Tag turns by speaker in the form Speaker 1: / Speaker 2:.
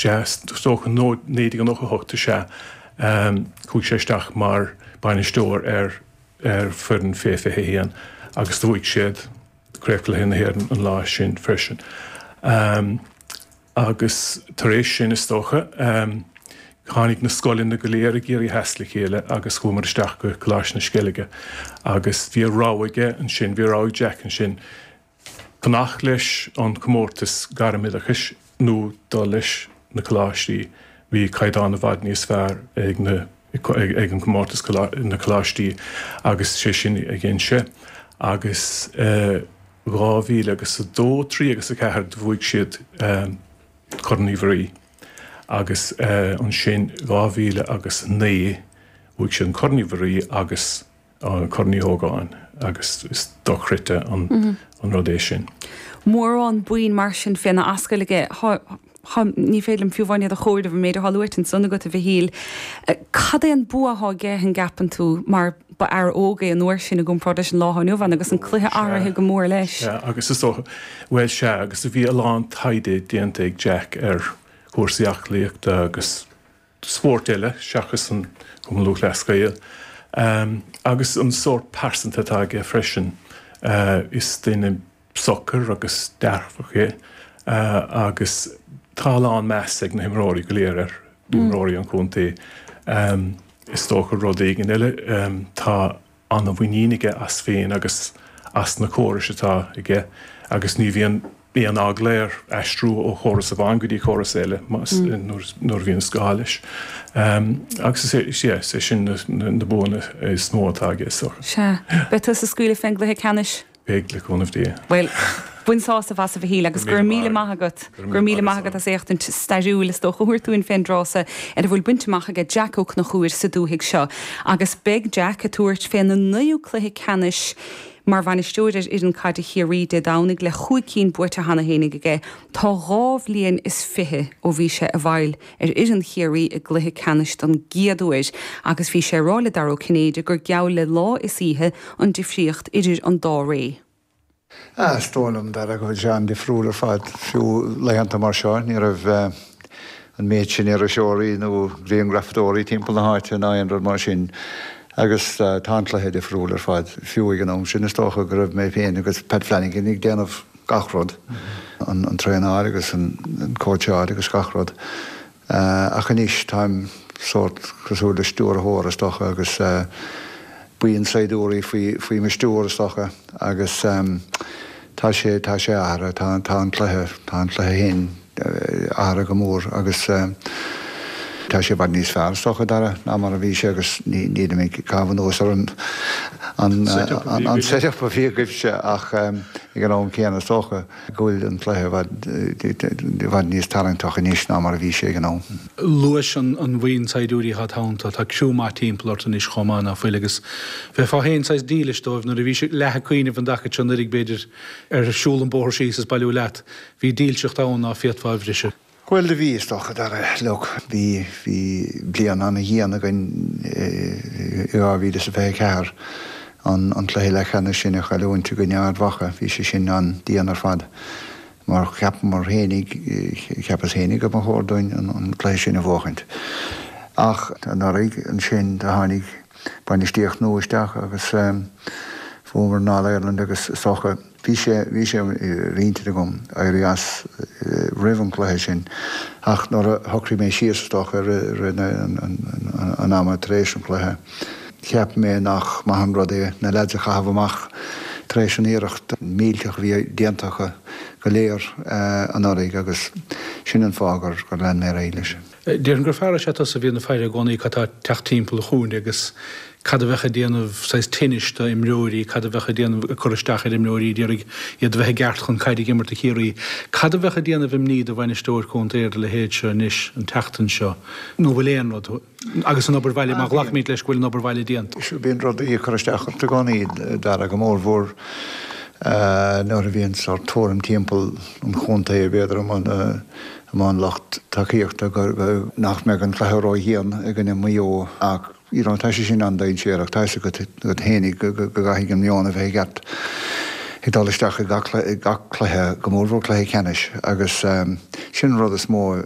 Speaker 1: Sea, is dócha, 1998 is ea, chuaigh sé isteach mar bainisteoir ar ar foireann fé 21 agus do bhuaigh siad Craobhchluiche na hÉireann an lá sin freisin. Agus tar éis sin, is dócha, tháinig na scoileanna go léir i gCiarraí Theas le chéile agus chuamar isteach go Coláiste na Sceilge agus bhí a rogha aige ansin, bhí a rogha ag Jack ansin, fanacht leis an chomórtas gairmoideachais nó dul leis na coláistí. Bhí caighdeán i bhfad níos fearr ag na ag an gcomórtas na coláistí agus sé sin a dhein sé agus 2000 agus 2, 3 agus 4 do bhuaigh siad Corn Uí Mhuirí agus ansin 2000 agus 9 bhuaigh siad an Corn Uí Mhuirí agus Corn Uí Ógáin agus is dochreidte an rud é sin.
Speaker 2: Mórán boinn mar sin féna ascaill aige. Tá, ní féidir liom fiú amháin iad a chomhaireamh, an méid atá luaite ansan agat, a Mhichíl. Cad é an bua atá aige, an gceapann tú, mar ba fhear óg é an uair sin i gcomparáid leis an lá atá inniu ann agus an cluiche athraithe go mór leis.
Speaker 1: Sea, agus is dócha, bhuel sea, agus bhí a lán taighde déanta ag Jack ar chúrsaí aclaíochta agus spóirt eile seachas an Cumann Lúthchleas Gael agus an sórt pearsanta atá aige freisin. Is duine socair agus dearfach é agus tá a lán meas ag na himreoirí go léir air, imreoirí an chontae. Is dócha rud éigin eile, tá an-mhuinín aige as féin agus as na córais atá aige agus ní bhíonn aon eagla air aistriú ó chóras amháin go dtí córas eile nuair a bhíonn gá leis. Agus is é, yeah, is é sin na buanna is mó atá aige is dócha.
Speaker 2: Sea. Beidh tusa ag scaoileadh fén gcluiche ceannais?
Speaker 1: Beidh, le cúnamh Dé.
Speaker 2: Bhuel, bain sásamh as, a Mhichíl, agus go raibh míle maith agat. Go raibh míle maith agat as éachtaint stairiúil, is dócha, a thabhairt dúinn fén dtráth so ar a bhfuil bainte amach aige Jack Ó Conchúir sa dúthaigh seo. Agus beidh Jack ag tabhairt féna naoú cluiche ceannais mar bhainisteoir ar fhoireann caide Chiarraí Dé Domhnaigh le chúig cinn buaite cheana fhéinig aige. Tá dhá bhliain is fiche ó bhí sé i bhfeighil ar fhoireann Chiarraí i gcluiche ceannais don gcéad uair agus bhí sé ag rá le Dara Ó Cinnéide gur geall le lá is oíche an difríocht idir an dá ré.
Speaker 3: Ah, is dóigh liom, Dara, go bhfuil sé an-difriúil ar fad. Fiú laethanta mar seo, ní raibh an méid sin iriseoirí nó grianghrafadóirí timpeall na háite ná aon rud mar sin. Agus tá an cluiche difriúil ar fad. Fiú ag an am sin, is dócha go raibh mé féin agus Pat Flanagan ag déanamh gach rud, an traenáil agus an cóitseáil agus gach rud. Ach anois táim sórt cosúil le stiúrthóir is dócha agus buíon saighdiúirí faoi faoi mo stiúir is dócha agus tá sé tá sé athraithe, tá tá an cluiche tá an cluiche féin athraithe go mór agus tá sé i bhfad níos fearr is dócha Dara ná mar a bhí sé agus nílim ag caitheamh anuas ar an an an set-up a bhí agaibhse ach ag an am céanna is dócha go bhfuil an cluiche i bhfad i bhfad níos tarraingteach anois ná mar a bhí sé ag an am.
Speaker 4: Luais an bhuíon saighdiúirí atá id theannta, tá criú maith timpeall ort anois chomh maith, ná fuil, agus bheifeá féin saghas dílis dóibh nuair a bhís leath ag cuimhneamh an dtaca seo anuraidh b'fhéidir ar siúl an bóthar síos is bailiú leat. Bhí dílseacht ann ná féadfá a bhriseadh.
Speaker 3: Bhuel, do bhí, is dócha, Dara. Look, bhí, bhí bliain ana-dhian againn i 2024, an, an cluiche leathcheannais sin a chailliúint i gcoinne Ard Mhacha, bhí sé sin an-dian ar fad mar cheapamar fhéinig, cheapas fhéinig go mba chóir dúinn an, an cluiche sin a bhuachaint. Ach anuraidh ansin do tháinig bainistíocht nua isteach agus bhuamar an All-Ireland agus is dócha, Bhí sé, bhí sé ar intinn agam éirí as roimh an gcluiche sin ach nuair a shocraigh mé síos, is dócha, i rith an ama tar éis an chluiche, cheap mé nach maith an rud é na leaids a chaitheamh amach tar éis an iarracht millteach a bhí déanta acu go léir anuraidh agus sin an fáth gur lean mé ar aghaidh leis.
Speaker 4: Déarfainn gur fear is ea tusa a bhíonn ag faire i gcónaí cad tá ag teacht timpeall an chúinne agus cad a bheadh ag déanamh saghas tinnis do imreoirí, cad a bheadh ag déanamh, ag cur isteach ar imreoirí, ag iarraidh iad a bheith i gceart chun caid ag imirt do Chiarraí. Cad a bheadh ag déanamh imní do bhainisteoir contae ar do leithéid seo anois, an tseachtain seo, nó bhfuil aon rud, agus an obair bhaile, má ghlacaimid leis go bhfuil an obair bhaile déanta?
Speaker 3: Bíonn rudaí ag cur isteach ort i gcónaí, Dara, go mórmhór nuair a bhíonn sórt tuairim timpeall an chontae, b'fhéidir, amuigh an lucht tacaíochta go nach mbeadh an cluiche ró-dhian i gcoinne Mhaigh Eo ach you know tá sé sin an-dainséarach, tá fhios agat agat fhéinig go gcaithfidh an meon a bheith i gceart ag dul isteach i gach cluiche, go mórmhór cluiche ceannais agus sin an rud is mó.